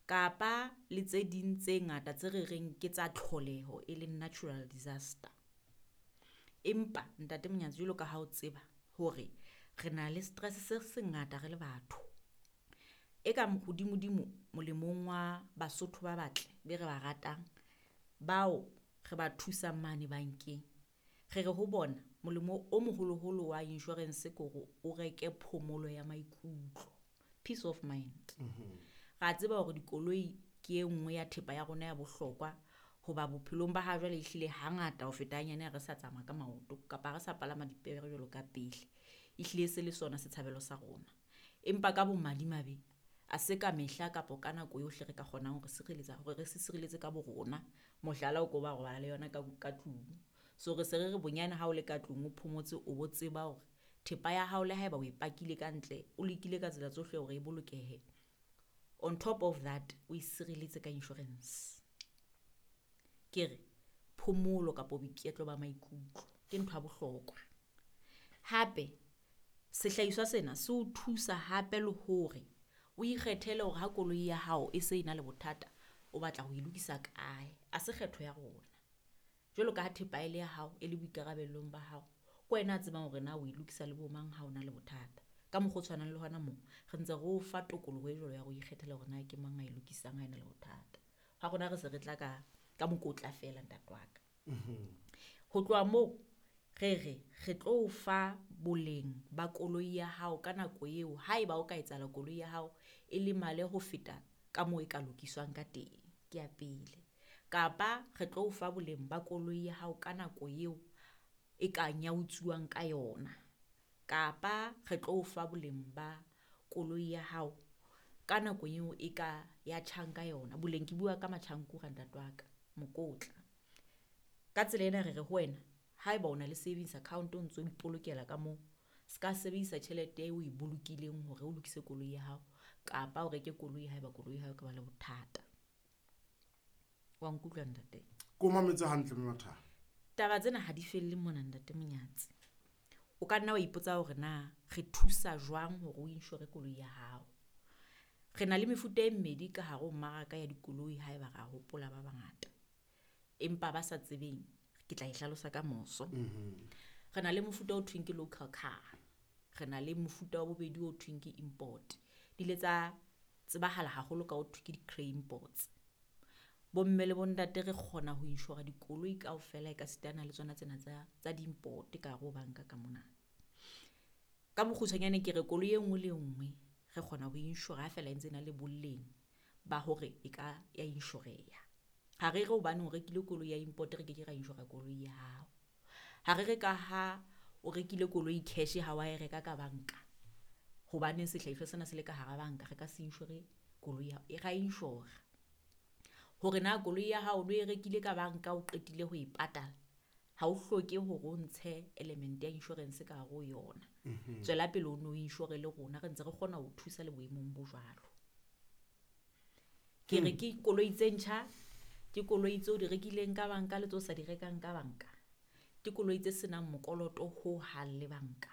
Kapa le tse ding tse ngata tse re reng ke tsa tlholeho e leng natural disaster. Empa Ntate Monyatsi jwalo ka ha o tseba hore re na le stress se sengata re le batho. E ka hodimo-dimo molemong wa Basotho ba batle be re ba ratang, bao re ba thusang mane bankeng. Re re ho bona molemo o moholoholo wa insurance ke hore o reke phomolo ya maikutlo, peace of mind. Ra tseba hore dikoloi ke e nngwe ya thepa ya rona ya bohlokwa hoba bophelong ba ha jwale ehlile hangata ho feta hanyane ha re sa tsamaya ka maoto kapa ha re sa palama dipere jwalo ka pele. Ehlile se le sona setshabelo sa rona. Empa ka bomadimabe ha se ka mehla kapa ka nako yohle re ka kgonang hore sireletsa hore re se sireletse ka bo rona. Mohlala o ko ba robala le yona ka tlung. So re se re re bonyane ha o le ka tlung o phomotse o bo tseba hore thepa ya hao le haeba o e pakile ka ntle, o lekile ka tsela tsohle hore e bolokehe. On top of that o e sireletse ka insurance. Ke re phomolo kapa boiketlo ba maikutlo ke ntho ya bohlokwa. Hape sehlahiswa sena se o thusa hape le hore o ikgethele hore ha koloi ya hao e se e na le bothata, o batla ho e lokisa kae, ha se kgetho ya rona. Jwalo ka ha thepa e le ya hao e le boikarabelo ba hao, ke wena a tsebang hore na o e lokisa le bo mang ha o na le bothata. Ka mokgwa o tshwanang le hona moo re ntse re o fa tokoloho e jwalo ya hore o ikgethele hore na ke mang a e lokisang ha e na le bothata. Ha rona re se re tla ka mokotla feela ntate wa ka. Ho tloha moo re re re tlo o fa boleng ba koloi ya hao ka nako eo haeba o ka etsahala koloi ya hao e lemale ho feta ka moo e ka lokiswang ka teng, ke ya pele. Kapa re tlo o fa boleng ba koloi ya hao ka nako eo e ka nyautsuwang ka yona. Kapa re tlo o fa boleng ba koloi ya hao ka nako eo e ka ya tjhang ka yona. Boleng ke bua ka matjhankura ntate wa ka, mokotla. Ka tsela ena re re ho wena haeba o na le savings account o ntso ipolokela ka moo, ska sebedisa tjhelete eo o e bolokileng hore o lokise koloi ya hao kapa o reke koloi haeba koloi ya hao e ka ba le bothata. Wa nkutlwa ntate? Ko mametse hantle Mme Mathabo. Taba tsena ha di felle mona Ntate Monyatsi. O ka nna wa ipotsa hore na re thusa jwang hore o insure koloi ya hao. Re na le mefuta e mmedi ka hare ho mmaraka ya dikoloi haeba ra hopola ba bangata. Empa ba sa tsebeng ke tla e hlalosa ka moso. Re na le mofuta o thweng ke local car, re na le mofuta wa bobedi o thweng ke import. Di ile tsa tsebahala haholo ka ho thwe ke di-grey imports. Bomme le bontate re kgona ho insure dikoloi kaofela e ka sitana le tsona tsena tsa di-import ka hare ho banka ka mona. Ka bokgutshwanyane ke re koloi e nngwe le e nngwe re kgona ho insure ha feela e ntse e na le boleng ba hore e ka ya inshoreha. Ha re re hobane o rekile koloi ya import re ke ke ra insure koloi ya hao. Ha re re ka ha o rekile koloi cash ha wa e reka ka banka hobane sehlahiswa sena se le ka hara banka re ka se insure koloi ya hao, ra insure. Hore na koloi ya hao o no e rekile ka banka o qetile ho e patala ha o hloke hore o ntshe element ya insurance ka hare ho yona. Tswela pele o no insure le rona re ntse re kgona ho thusa le boemong bo jwalo. Ke re ke koloi tse ntjha, ke koloi tseo di rekileng ka banka le tseo sa di rekang ka banka. Ke koloi tse senang mokoloto ho hang le banka.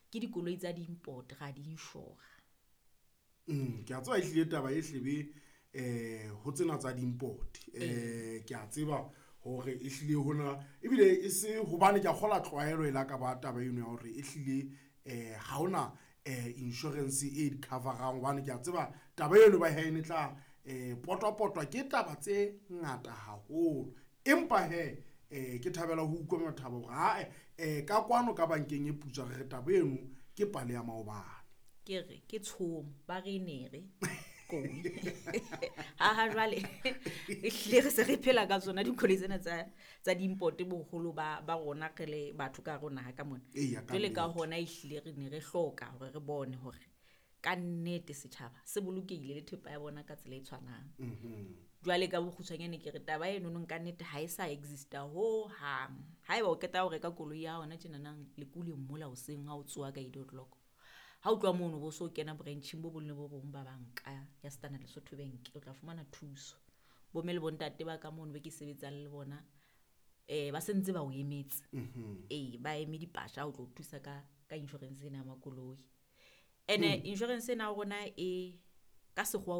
Ke dikoloi tsa di-import ra di insure. Ke a tseba ehlile taba e hlebe ho tsena tsa di-import. Ke a tseba hore ehlile hona ebile e se hobane ke a kgola tlwaelo e la ka ba taba eno ya hore ehlile ha hona insurance e di cover-ang hobane ke a tseba taba eno ba hae ne tla potwa-potwa ke taba tse ngata haholo. Empa he ke thabela ho utlwa Mathabo hore ha ka kwano ka bankeng e putswa re re taba eno ke pale ya maobane. Ke re ke tshomo ba re ne re koi. Ha jwale ehlile re se re phela ka tsona dikoloi tsena tsa di-import boholo ba rona re le batho ka hare ho naha ka mona. Eya, ka Jwale ka nnete. hona ehlile re ne re hloka hore re bone hore ka nnete setjhaba se bolokehile le thepa ya bona ka tsela e tshwanang. Jwale ka bokgutshwanyane ke re taba eno nong ka nnete ha e sa exista ho hang. Haeba o qeta ho reka koloi ya hona tjenanang lekule mola hoseng ha o tsoha ka 8 o'clock. Ha o tloha mono bo so kena branching bo bong le bo bong ba banka ya Standard Lesotho Bank o tla fumana thuso. Bomme le bontate ba ka mono be ke sebetsang le bona ba sentse ba o emetse. Ba eme dipasha ho tlo thusa ka insurance ena ya makoloi. Ene insurance ena ya rona e ka sekgowa